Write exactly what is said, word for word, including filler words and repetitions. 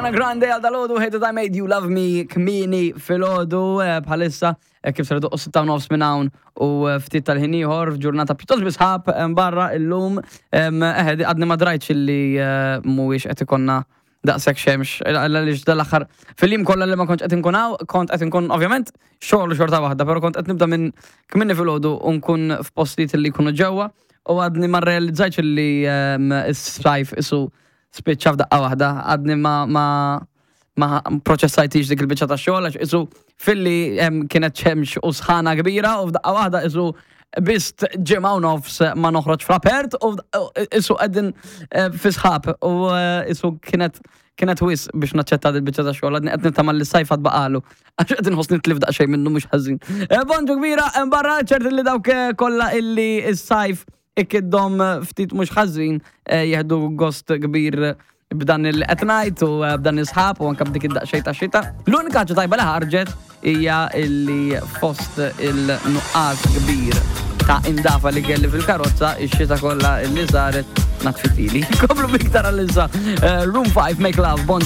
Ariana Grande għal dalgħodu, Hate That I Made You Love Me, kmieni filgħodu eh, bħalissa eh, kif ser doqqu sitta u nofs minn hawn u eh, ftit tal-ħin ieħor f'ġurnata pjuttost bi sħab barra illum. Eħe, għadni ma drajtx illi mhuwiex qed ikollna daqshekk xemx, għaliex dal-aħħar fil-jiem kollha li ma kontx qed inkun hawn, kont qed inkun ovvjament xogħol xorta waħda, però kont qed nibda minn kmieni filgħodu u nkun f'postijiet li jkunu ġewwa u għadni ma rrealizzajtx li s-sajf isu spiċċa f'daqqa waħda, għadni ma ma ma proċessajtix dik il-biċċa ta' xogħol għax isu filli kienet xemx u sħana kbira u f'daqqa waħda isu bist ġimgħa u nofs ma noħroġ fl-apert u isu qegħdin fi sħab u isu kienet kienet wis biex naċċetta dil-biċċa ta' xogħol, għadni qed nittama li s-sajf għad baqalu. Għax qed inħoss nitlif daqsxejn minnu mhux ħażin. Bonġu kbira, barra ċert li dawk kollha illi s-sajf ikiddhom ftit mhux ħażin jieħdu gost kbir b'dan il-qed ngħid u b'dan is-sħab u anke b'dik id-daqsxejn ta' xita. L-unika ħaġa tajba li ħarġet hija illi fost il-nuqqas kbir ta' indafa li kelli fil-karozza, ix-xita kollha illi saret natfitili. Komplu biktar għal-issa. Room five, Make Love, Bon